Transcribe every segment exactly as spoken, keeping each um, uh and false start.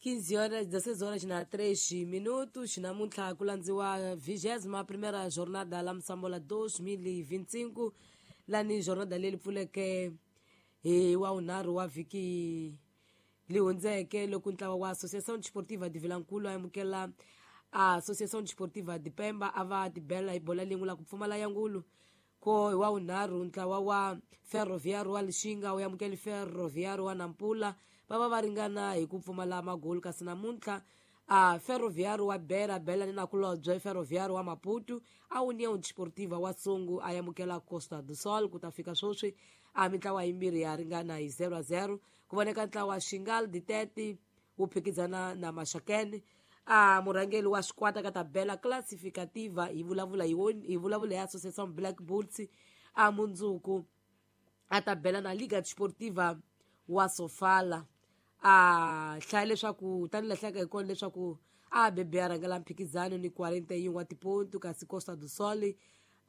quinze horas, dezesseis horas na três minutos. Namuntlha ku landziwa vigésima primeira jornada la Msambola dois mil e vinte e cinco, lani jornada leyi pfuleke hi wa vunharhu wa vhiki li hundzeke loko ntlawa wa Associação Desportiva de Vilankulu a amukela a Associação Desportiva de Pemba a va tibela hi bola lin'we la ku pfumala ya ngulu. Ko hi wa vunharhu ntlawa wa Ferroviário wa Lixinga wu amukele Ferroviário wa Nampula va va va ringana hi ku pfumala magoli. Kasi namuntlha a Ferroviário wa Beira bela ni nakulobye Ferroviário wa Maputo a União Desportiva wa Songo a amukela Costa do Sol. Ku ta fika sweswi a mintlawa yimbirhi ya ringana hi zero a zero. Ku voneka ntlawa wa Xingal Ditete wu phikizana na Maxakene. A murhangeri wa xikwata ka tabela classificativa hi vulavula hi hi vulavula hi Associação Black Bulls a mundzuku a tabela na Liga Desportiva wa Sofala. A hlaya leswaku tani lahleka hi kona leswaku a bebe a rhangela mphikizano ni quarenta e um wa tipontu, kasi Costa do Sol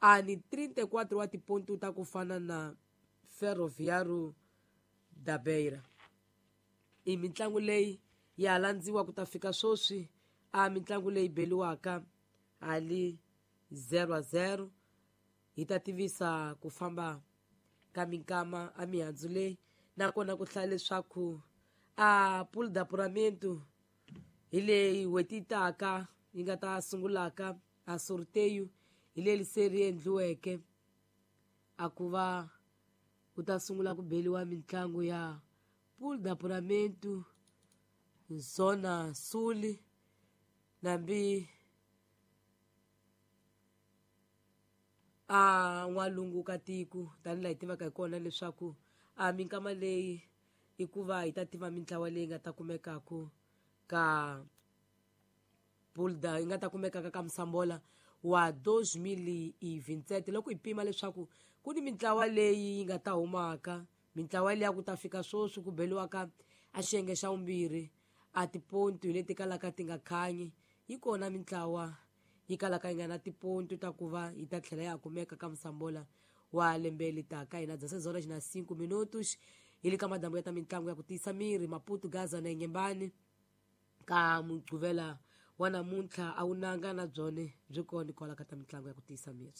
a ni trinta e quatro wa tipontu ta ku fana na Ferroviário da Beira. I mitlangu leyi ya landziwa ku ta fika sweswi a mitlangu leyi beliwaka hali zero a zero. Hi ta tivisa ku famba ka minkama a mihandzu leyi, nakona ku hlaya leswaku a pool d'apuramento hi leyi n'hweti yi taka yi nga ta sungulaka a sorteio hi leyi se ri endliweke a ku va ku ta sungula ku beliwa mitlangu ya pool d'apuramento Zona Sul nambi a n'walungu ka tiko tanihi laha hi tivaka hi kona leswaku a minkama leyi i ku va hi ta tiva mintlawa leyi nga ta kumekaka ka pulda yi nga ta kumekaka ka Msambola wa dois mil e vinte e sete. Loko hi pima leswaku ku ni mintlawa leyi yi nga ta humaka, mintlawa liya ku ta fika sweswi ku beliwaka a xiyenge xa vumbirhi a tipontu hi leti kalaka ti nga khanyi, yi kona mintlawa yi kalaka yi nga na tipontu ta ku va yi ta tlhela ya kumeka ka Msambola wa lembe leri taka. Hina dezesseis horas na cinco minutos hi le ka madambu ya ta mitlangu ya ku tiyisa miri Maputo, Gaza na Inhambane ka Mugqivela wa namuntlha a wu nanga na byone byi kona kwala ka ta mitlangu ya ku tiyisa miri.